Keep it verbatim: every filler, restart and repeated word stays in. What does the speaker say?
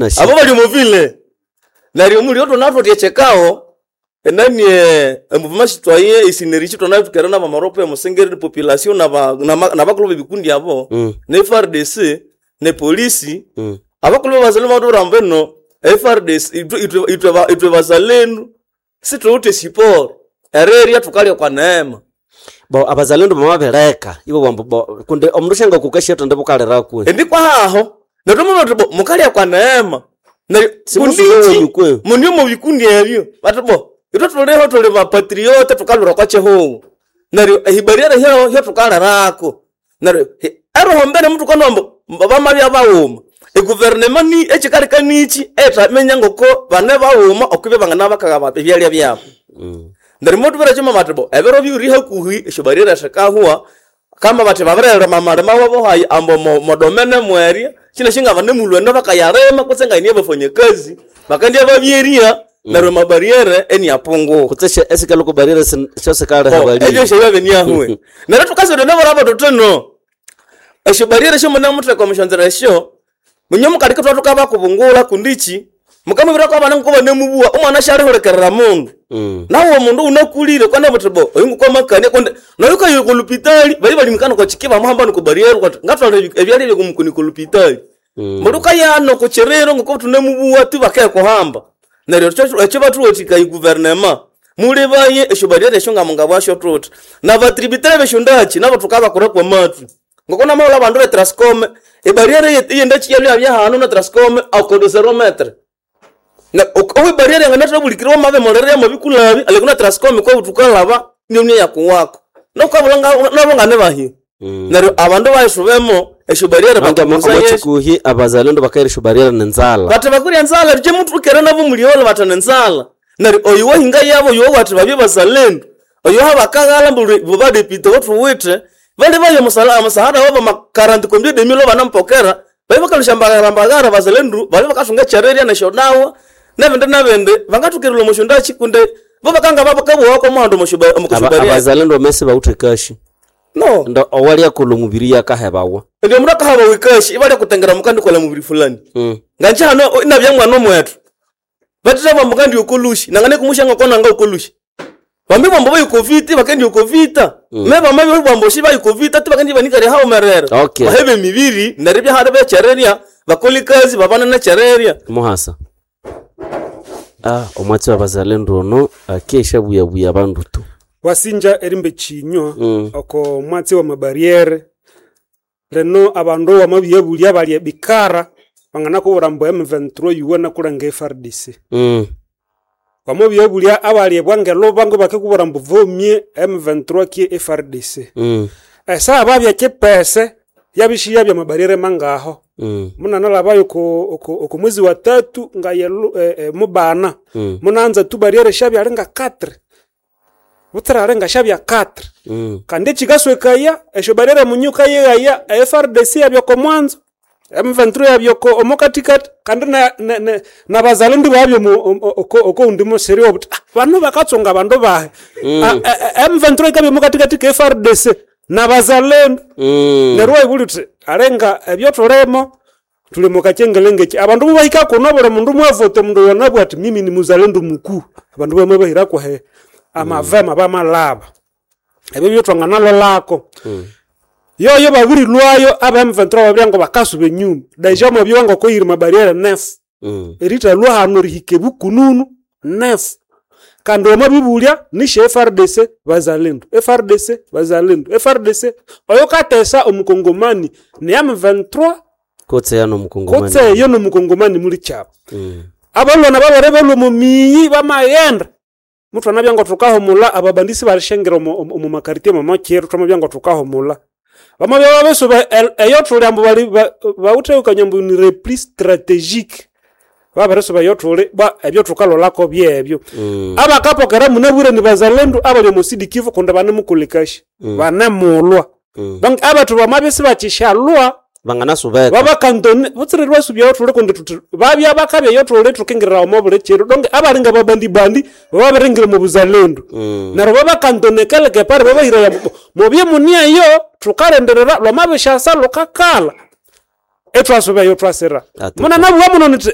Abo bali omo ville neryo omulio thunathuthi ekyekaho enani emouvement citoyen esynergie thwanathukere nabamaropo emusengere population naba nama- nabakulhu bebikundi abo Mm. ne F R D C ne polisi Mm. abakulhu babazalendo bamatubwira ambu ino F R D C ithwe ithwe ithwe bazalendu sithuwithe support erirya thukalya okwa neema. Bo abazalendo bamabireka ibo bambu bo kundi omundu syangakuka thende bukaliraku. Indi kwahaho neryo twamabwira thuthi bo mukalya kwa neema neryo Simusuba kundichi wenyu kwe. muni omo bikundi ebyo bathi bo ithwe thuliho thuli bapatriote thukalwira okwa kyihugho neryo ehibarriere hyaho hyathukalirako neryo hi- eroho mbene muthukanowa ambu bamabya baghuma eguverinema ni ekyikaleka nikyi eyithaminya ngoko bane baghuma okwibya bangana bakaghaba ebyalya byabu. Mm. Neryo mothubwira kyuma bathi bo ebiro bibiri hakuhi esyobarriere sikahwa kama bathi babirilima amalima wabo hayi ambu mo- modomene mwerya kyinasi ngabane bakayalima kutse ngayini abafanyakazi bakandya babyerya neryo amabarriere iniapunguka. Kutse esikalhuko barriere syosikaliha Bo, ebyo bali. syabya biniahwe neryo thukasira nabura thuthi no esyobarriere syomunamutheka omusyonzera esyo munye mukaleka ithwa thukabakubungula kundi ki mukamubwira kwabana ngoko banemubuwa omwana syalihulikirira mundu. Mm. Nawe omundu unakulire kwana buthi bo oyu ngokwamakania kundi noyu kayo kolupitali bali balimikana kochiki bamuhamba niko barriere kwati ngatwala ebyalya byokumukuni kolupitali. Mm. Mundu kayano kuchiriro ngoko thunemubuwa tu bakekuhamba neryo ekyo ekyo bathuwathikaya guverinema mulibaye esyobarriere esyo ngamungabwasyo thuthi nabatributary besyondaki nabo thukabakura kwamathwi ngoko namahulha abandu be Trascom ebarriere eyendaki yalya hanu na Trascom akodo zero metre na owe barriere yanganathabulikirwa wamabimulerera yamabikulabi alekuna Trascom kwa thukalaba niyo yakuwako nokabula nabo ngane Mm. neryo abandu bayisubemo esyobarriere bakubuza yesu omochikuhi abazalendo bakaira esyobarriere nenzala. Bathi bakurya nzala rije muthukere nabo muliolo batha nenzala neryo oyu wahinga yabo oyu wathi babye bazalendu oyu habakaghala mbu badepite bothuwithe bali bayo musala amusahara wabo makaranti combien de mille banampokera bali bakalusha mbagara mbagara bazalendu bali bakasunga chereria nesyodawa nebindi nebindi bangathukirira omusyondaki kundi bo bakanga babakabuwako omuhando Aba- omukushubaria abazalendo bamesi bawuthe kashi. No Ndo owalyakolha omubiri yakahebawa. ndi omundu akahaba wikashi ibalya kutengera mukandi kola mubiri fulani. Mm. Nganje hano inabya mwana omwetu batitha bambu kandi okolushi nangane kumusha ngoko nanga okolushi bambi bambu bayukovita bakendi okovita me bama bambu shi bayukovita ti bakendi banikari haomerera. Okay. Bahebe emibiri neryo byahali bechereria bakoli kazi babana nechereria. Muhasa ah omwatsi wabazalendo ono akesha buyabuya abandu tu. Wasinja erimbe chinywa Mm. oko mwatsi wa mabarriere leno abandu wamabiyabulya balya bikara banganakubwira mbu M vingt-trois yuwana kulanga F R D C. Mm. Wamabiyabulya abalya bwangeluba ngo bakikubwira mbu vomie M vingt-trois ki F R D C. Mm. Esaha babya kipese yabishiya bya mabarriere mangaho. Mm. Munanalhabayo oko oko oko mwezi wa tatu nga yelu, eh, eh, mubana Mm. munanza tu barriere shabya nga quatre butsira alinga shabya quatre. Mm. Kandi ekikaswekaya esyo barriere munyuka yeghaya F R D C yabyoko mwanzo M vingt-trois yabyoko omokatikati kandi na, na, na, nabazalendu babyo oko oko undi musiri obuti ah, bano bakatsonga bandu bahe. Mm. Ah, eh, eh, M vingt-trois ikabya omokatikati ka F R D C nabazalendu. Mm. Neryo wayibulya uthi alenga ebyotulimo tuli mukakyengelengeki abandu mubahika kuno buli mundu mwavote omundu yonabwa ati mimi ni muzalendo mukuu abandu bamabahirako he amavema bamalaba ebyo byotwanganalolako. Mm. Yoyo babirilwayo aba M vingt-trois babirya ngo bakasuba enyuma deja mwabyowa ngokoyiri mabarriere nefu Mm. eritalwa hano rihika ebukununu nefu kandi wamabibulya nisha F R D C bazalendo F R D C bazalendo F R D C oyo katesa omukongomani ni M vingt-trois Kotse yano mukongomani. Kotse eyo nomukongomani muli kyabo. Mm. Abalwana babere balwa omu miyi bamaghenda muthwanabya ngo thukahumulha ababandisi balishengera omu omu- omu makaritie momokyiro thwamabya ngo thukahumulha bamabya babisuba el- eyo thuli ambu bali ba- bawuthe ambu ni repli strategique babirisuba eyo thuli ba ebyo thukalholako byebyo. Mm. Abakapokera munabwire ni bazalendu abali omu Sud Kivu kundi banemukolekashi Mm. banemulwa. Mm. Donc abathu bamabya sibakishalwa Banganasubeka. babakantone butsire lwasubya thuli kundi thuthi babya bakabya eyo thuli thukingirira omo buli kiro donc abalinga babandibandi bababiringira omu buzalendu. Mm. Neryo babakantone keleke pari babahiraya mubye munieyo thukalindirira lwamabishasa lhukakalha. Etwasuba eyo twasira. Atuka. Muna nabuwa muno niti